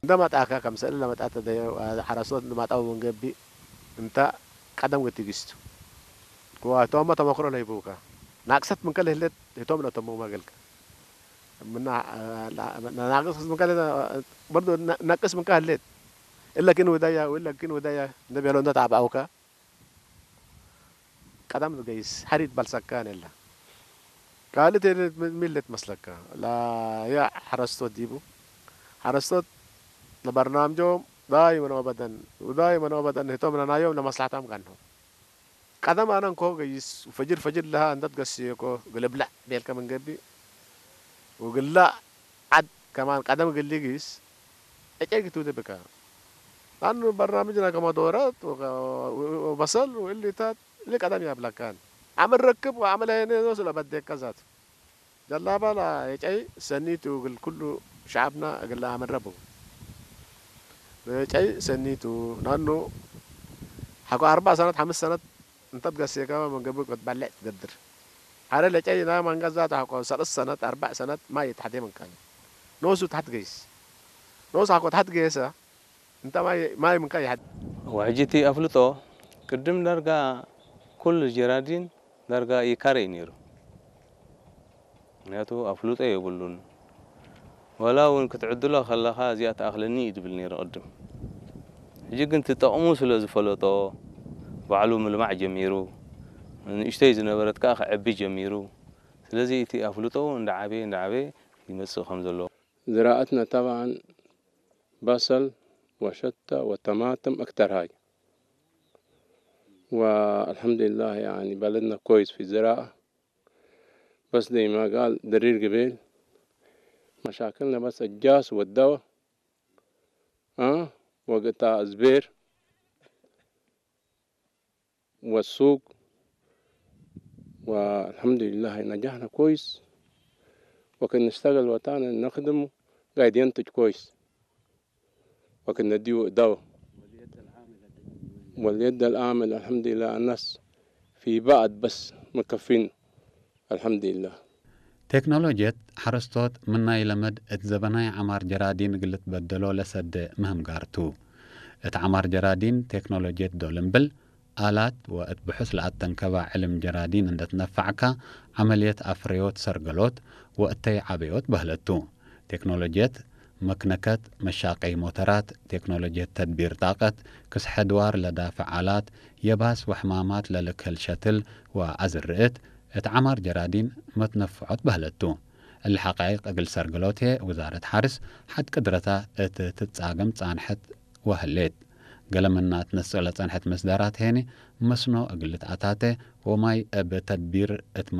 እንደ መጣካ ከም ስእሊ ለመጣት ደ ሓረስቶት እንደ ማጣው መንገቢ እንተ ቀደም ገቲግስቱ ክዋቶም ተመክሮ ለይቡካ ናቅሰት ምን ከለ ህለት ህቶም ለተሞ ማገልካ ምና ናቅስ ምን ከለ በርዶ ነቅስ ምን ከለ ህለት እለኪን ወዳያ ወለኪን ወዳያ እንደ ቤሎ እንደ ታባውካ ቀዳም ዝገይስ ሓሪት ባልሳካ ነላ ካልእ ሚለት መስለካ ላያ ሓረስቶት ዲቡ ሓረስቶት ለበርናምጆም ዳይመን ወበደን ዳይመን ወበደን ህቶም ለናዮም ለመስላሕታም ጋንሆ ቀደም ኣነ እንኮ ገይስ ፈጅር ፈጅር ለሃ እንተት ገስየኮ ግልብላዕ ቤልከ መንገቢ ወግላ ዓድ ከማን ቀደም ግሊ ግይስ እጨይ ግትውደ ብካ ኣኑ በርናምጅና ከማ ዶረት ወበሰል ወእሊታት እሊ ቀደም ያብላካን ዓመል ረክብ ወዓመል ያየነ ስለ በደካ ዛት ጀላባ ላ የጨይ ሰኒቱ እግል ኩሉ ሸዓብና እግል ለአመረቡ ለጨይ ሰኒቱ ናኑ ሓኮ አርባ ሰነት ሓምስ ሰነት እንተት ገሴካ መንገቡ ክትበልዕ ትገድር ሓደ ለጨይ ና መንገዛ ተሓቆ ሰለስ ሰነት አርባዕ ሰነት ማይ ተሓቴ መንካኝ ኖሱ ተሓት ገይስ ኖስ ሓኮ ተሓት ገየሰ እንተ ማይ ማይ ምንካ ይሓድ وحجتي أفلطو ቅድም ዳርጋ ኩሉ ጀራዲን ዳርጋ ይካረይ ነይሩ ምክንያቱ ኣፍልጦ የብሉን ዋላ እውን ክትዕድሎ ከለኻ እዚኣ ትኣኽለኒ እዩ ዝብል ነይሩ ቅድም ሕጂ ግን ትጠቕሙ ስለ ዝፈለጦ ባዕሉ ምልማዕ ጀሚሩ ንእሽተይ ዝነበረት ከዓ ክዕቢ ጀሚሩ ስለዚ እቲ ኣፍልጦ እንዳዓበየ እንዳዓበየ ይመፅእ ከም ዘሎ ዝራእትና ተባን በሰል ወሸታ ወተማትም እክተር ሃይ والحمد لله يعني بلدنا كويس في الزراعة بس زي ما قال درير قبيل مشاكلنا بس الجاس والدواء أه وقت الزبير والسوق والحمد لله نجحنا كويس وكنا نشتغل وطننا نخدمه قاعد ينتج كويس وكنا نديه دواء واليد العاملة الحمد لله الناس في بعض بس مكفين الحمد لله ቴክኖሎጅየት ሓረስቶት ምናይ ለመድ እት ዘበናይ ዓማር ጀራዲን እግል ልትበደሎ ለሰደ ምህም ጋር ቱ። እት ዓማር ጀራዲን ቴክኖሎጅየት ዶል እምብል፣ ኣላት ወእት ብሑስ ለኣተንከባ ዕልም ጀራዲን እንደ ትነፋዕካ፣ ዐመልየት ኣፍረዮት ሰርገሎት ወእተይ ዐበዮት በህለት ቱ። ቴክኖሎጅየት መክነከት፣ መሻቀይ ሞተራት፣ ቴክኖሎጅየት ተድቢር ጣቀት፣ ክስሐ ድዋር ለዳፍዕ ኣላት፣ የባስ ወሕማማት ለልክህል ሸትል ወኣዝር'ት፣ እት ዐማር ጀራዲን መትነፍዖት በህለት ቱ። እሊ ሐቃይቅ እግል ሰርግሎት ህዬ ውዛረት ሐርስ ሐድ ቅድረታ እት ትትጻገም ጻንሐት ወህሌት። ገለ ምና ትነስእ ለጸንሐት መስዳራት ሄኒ መስኖ እግል ልትኣታተ ወማይ እብ ተድቢር እት